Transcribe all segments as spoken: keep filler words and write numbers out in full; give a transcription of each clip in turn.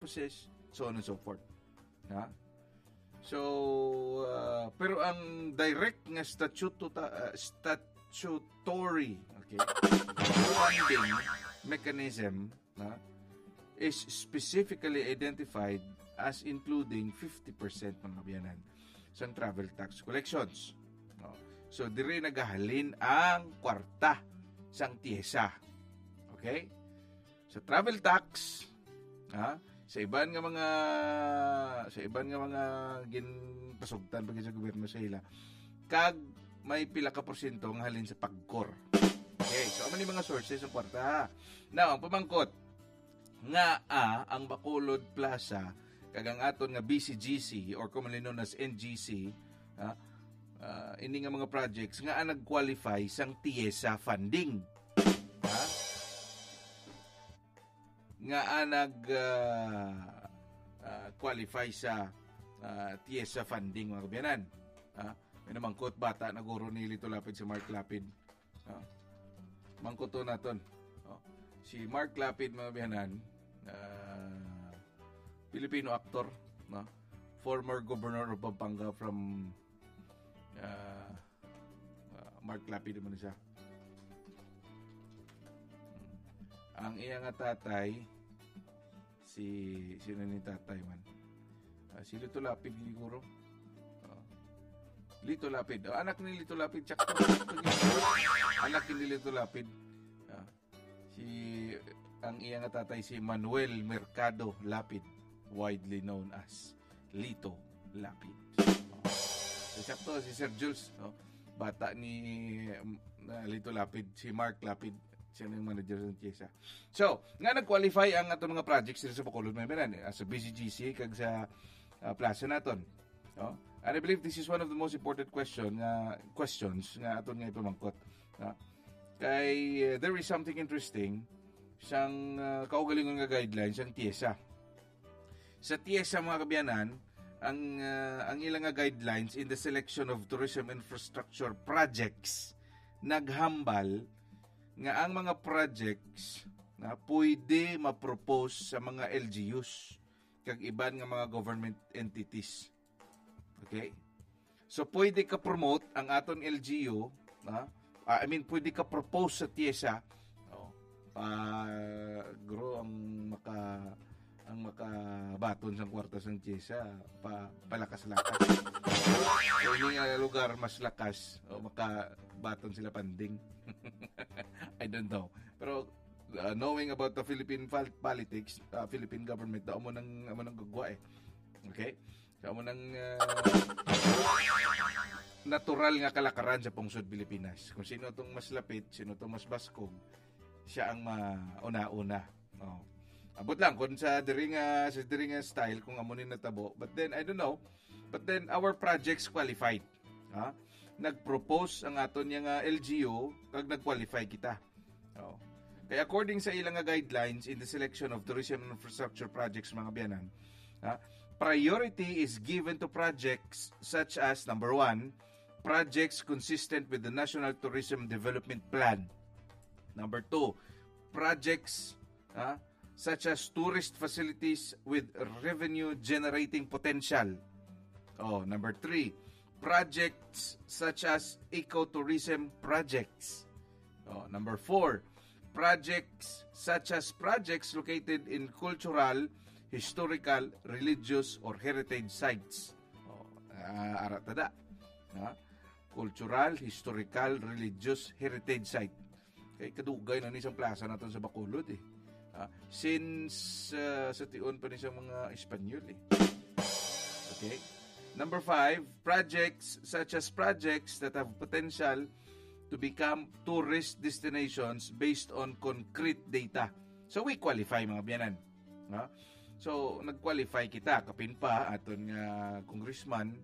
possess, so on and so forth. Ha? So, uh, pero ang direct nga statuto-, uh, statutory, okay, funding mechanism, ha, is specifically identified as including fifty percent, mga kaabyanan, sang travel tax collections. No? So, diri nagahalin ang kwarta sang TIESA. Okay? Sa travel tax, ha, sa iban nga mga, sa iban nga mga ginpasugtan pa gid sa gobyerno sa ila, kag may pila ka porsyento nga halin sa pagkor. Okay, so amo ni mga sources ang kwarta. Now, ang pamangkot, nga, ah, ang Bacolod Plaza kag ang aton nga B C G C, or commonly known as N G C, ah, ah, ini nga mga projects nga nag-qualify sang TIESA funding. Ha? Nga nag, ah, ah, qualify sa, ah, TIESA funding, mga kaabyanan. Ha? May namangkot, bata na guro ni Lito Lapid si Mark Lapid. Ah, mangkuton naton. Oh, si Mark Lapid, mga kaabyanan, ah, Filipino actor, no? Former governor of Pampanga from, ah, ah, Mark Lapid man siya. Ang iya nga tatay, si, sino ni tatay man? Ah, si Lito Lapid siguro. Oh. Lito Lapid. Oh, anak ni Lito Lapid, sakto. Anak ni Lito Lapid. Ah, si, ang iya nga tatay si Manuel Mercado Lapid, widely known as Lito Lapid. Oh. So, sakto si Sir Jules, no? Bata ni, um, na Lito Lapid, si Mark Lapid, siya na yung manager sa TIESA. So, nga nag-qualify ang ato mga projects diri sa Bacolod, mga kaabyanan, eh, sa B C G C kag sa, ah, plaza naton. No? And I believe this is one of the most important question nga, questions nga aton nga ipamangkot. No? Kay, uh, there is something interesting sang, uh, kaugalingon nga guidelines ang TIESA. Sa TIESA, mga kaabyanan, ang, uh, ang ilang nga guidelines in the selection of tourism infrastructure projects naghambal nga ang mga projects na pwede ma-propose sa mga L G Us kag iban nga mga government entities. Okay? So, pwede ka promote ang aton L G U, ha? Ah, I mean, pwede ka propose sa TIESA. Oh. Ah, guro ang maka-, ang makabaton sang kwarta sang TIESA, pa, palakas-lakas. So, ini nga lugar mas lakas, o makabaton sila panding. I don't know. Pero, uh, knowing about the Philippine pol-, politics, uh, Philippine government, amo nang, amo nang gugwa eh. Okay? So, amo nang, uh, natural nga kalakaran sa pungsod Pilipinas. Kung sino tong mas lapit, sino tong mas baskog, siya ang mauna-una. Oh. Abot lang kung sa diri nga, sa diri nga style, kung amo ni natabo. But then, I don't know. But then, our projects qualified. Ha? Nag-propose ang aton nga L G U, kag nag-qualify kita. Oh. Kay according sa ilang nga guidelines in the selection of tourism infrastructure projects, mga kaabyanan, ha, priority is given to projects such as, number one, projects consistent with the National Tourism Development Plan. Number two, projects, ha, such as tourist facilities with revenue-generating potential. Oh, number three, projects such as ecotourism projects. Oh, number four, projects such as projects located in cultural, historical, religious, or heritage sites. Oh, ah, ara ta da. Ha? Cultural, historical, religious, heritage site. Kay kadugay na ni sang plaza naton sa Bacolod eh. Ah, since, ah, sa tion pa ni sa mga Espanyol eh. Okay? Number five, projects such as projects that have potential to become tourist destinations based on concrete data. So we qualify, mga kaabyanan. Ha? So, nag-qualify kita. Kapin pa, aton nga congressman,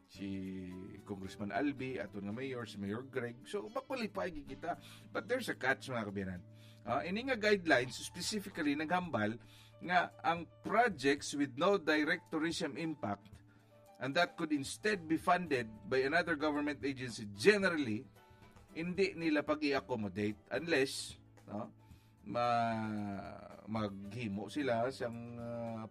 si Congressman Albi, aton nga mayor, si Mayor Greg. So, ma-qualify gid kita. But there's a catch, mga kaabyanan. Ah, ini nga guidelines specifically naghambal nga ang projects with no direct tourism impact and that could instead be funded by another government agency generally, hindi nila pag-i-accommodate unless, no, ma-, maghimo sila sang, ah,